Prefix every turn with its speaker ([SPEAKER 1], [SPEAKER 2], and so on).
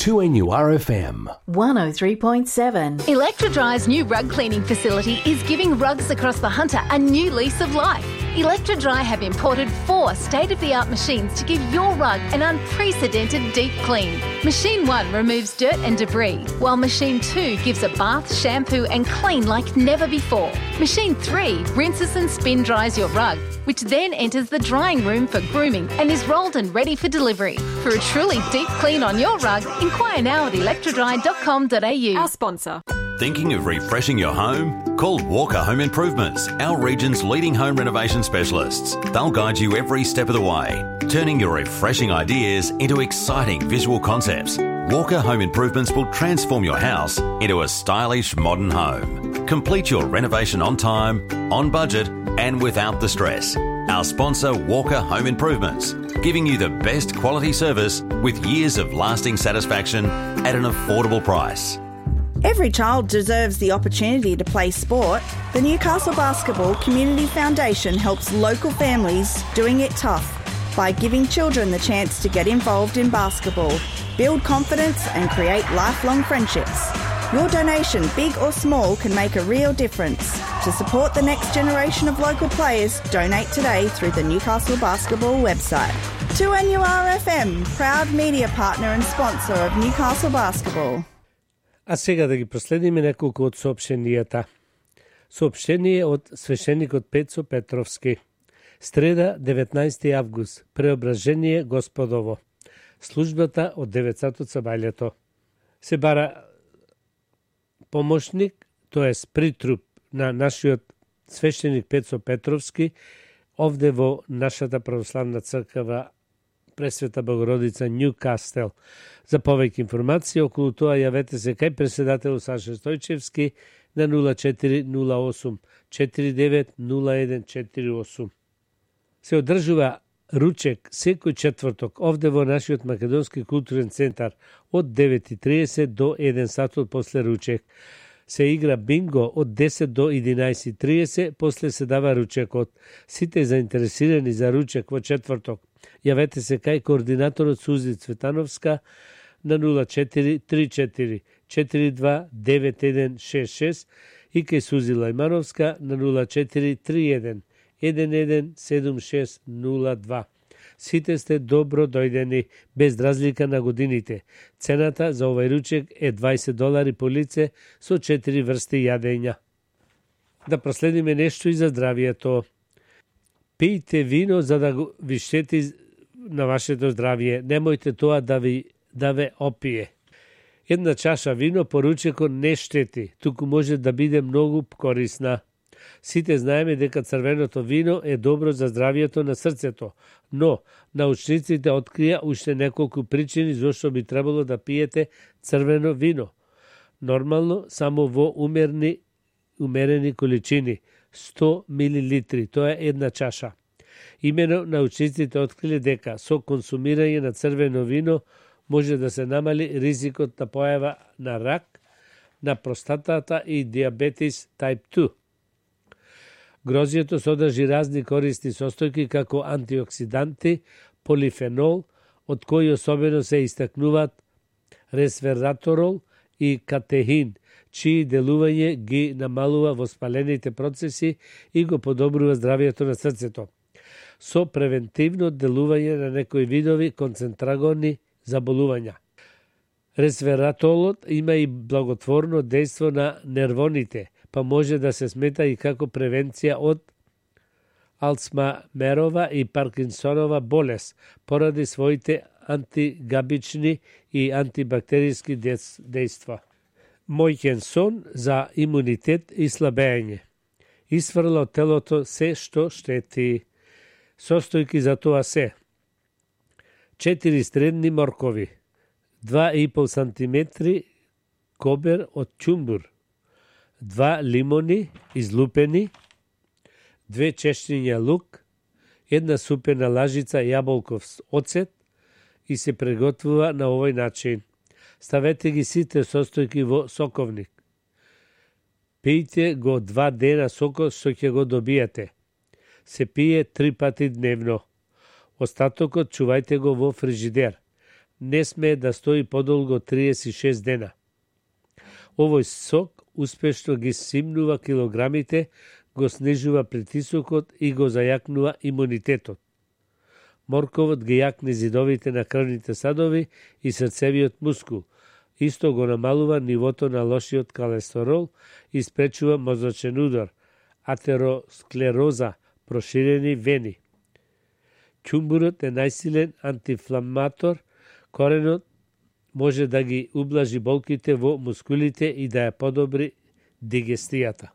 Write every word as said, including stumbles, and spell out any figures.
[SPEAKER 1] two N U R F M
[SPEAKER 2] one oh three point seven.
[SPEAKER 3] Electrodry's new rug cleaning facility is giving rugs across the Hunter a new lease of life. Electrodry have imported four state-of-the-art machines to give your rug an unprecedented deep clean. Machine one removes dirt and debris, while Machine two gives a bath, shampoo and clean like never before. Machine three rinses and spin dries your rug, which then enters the drying room for grooming and is rolled and ready for delivery. For a truly deep clean on your rug, inquire now at electrodry dot com dot a u.
[SPEAKER 2] Our sponsor.
[SPEAKER 4] Thinking of refreshing your home? Call Walker Home Improvements, our region's leading home renovation specialists. They'll guide you every step of the way, turning your refreshing ideas into exciting visual concepts. Walker Home Improvements will transform your house into a stylish modern home. Complete your renovation on time, on budget, and without the stress. Our sponsor, Walker Home Improvements, giving you the best quality service with years of lasting satisfaction at an affordable price.
[SPEAKER 5] Every child deserves the opportunity to play sport. The Newcastle Basketball Community Foundation helps local families doing it tough by giving children the chance to get involved in basketball, build confidence and create lifelong friendships. Your donation, big or small, can make a real difference. To support the next generation of local players, donate today through the Newcastle Basketball website. two N U R F M, proud media partner and sponsor of Newcastle Basketball.
[SPEAKER 6] А сега да ги проследиме неколку од соопштенијата. Соопштение од свещеникот Пецо Петровски. Среда, деветнаесети август, преображение Господово. Службата од девет сати сабајлето. Се бара помошник, тоест притруп на нашиот свещеник Пецо Петровски, овде во нашата православна црква Пресвета Богородица Ньюкастел. За повеќе информации околу тоа јавете се кај председател Саша Стојчевски на нула четири нула осум четири девет нула еден четири осум. Се одржува ручек секој четврток овде во нашиот Македонски културен центар од девет и триесет до еден сат после ручек. Се игра бинго од десет до единаесет и триесет, после се дава ручекот. Сите заинтересирани за ручек во четврток јавете се кај координаторот Сузи Цветановска на нула четири три четири четири два девет еден шест шест и кај Сузи Лајмановска на нула четири три еден еден еден седум шест нула два. Сите сте добро дојдени, без разлика на годините. Цената за овај ручек е дваесет долари по лице со четири врсти јадења. Да проследиме нешто и за здравието. Пијте вино за да ви штети на вашето здравје. Немојте тоа да ви да ве опие. Една чаша вино по ручекот не штети, туку може да биде многу корисна. Сите знаеме дека црвеното вино е добро за здравието на срцето, но научниците открија уште неколку причини зошто би требало да пиете црвено вино. Нормално само во умерни умерени количини, сто милилитри, тоа е една чаша. Имено научниците откриле дека со консумирање на црвено вино може да се намали ризикот на појава на рак на простатата и диабетис тајп два. Грозјето содржи разни користни состојки како антиоксиданти, полифенол, од кои особено се истакнуваат ресвераторол и катехин, чии делување ги намалува воспалените процеси и го подобрува здравието на срцето. Со превентивно делување на некои видови концентрагони заболувања. Ресвератолот има и благотворно дејство на нервоните, па може да се смета и како превенција од Алцмамерова и Паркинсонова болест, поради своите антигабични и антибактериски дејства. Мојќен сон за имунитет и слабење. Исфрла од телото се што штети. Состојки за тоа се: четири средни моркови, два и по сантиметри кобер од чумбур, два лимони излупени, две чешњиња лук, една супена лажица јаболков оцет и се приготвува на овој начин. Ставете ги сите состојки во соковник. Пијте го два дена сокот што ќе го добиете. Се пие три пати дневно. Остатокот чувајте го во фрижидер. не смее да стои подолго од триесет и шест дена. Овој сок успешно ги симнува килограмите, го снижува притисокот и го зајакнува имунитетот. Морковот ги јакне зидовите на крвните садови и срцевиот мускул. Исто го намалува нивото на лошиот колестерол и спречува мозочен удар, атеросклероза, проширени вени. Ќумбурот е најсилен антиинфламатор, коренот може да ги ублажи болките во мускулите и да ја подобри дигестијата.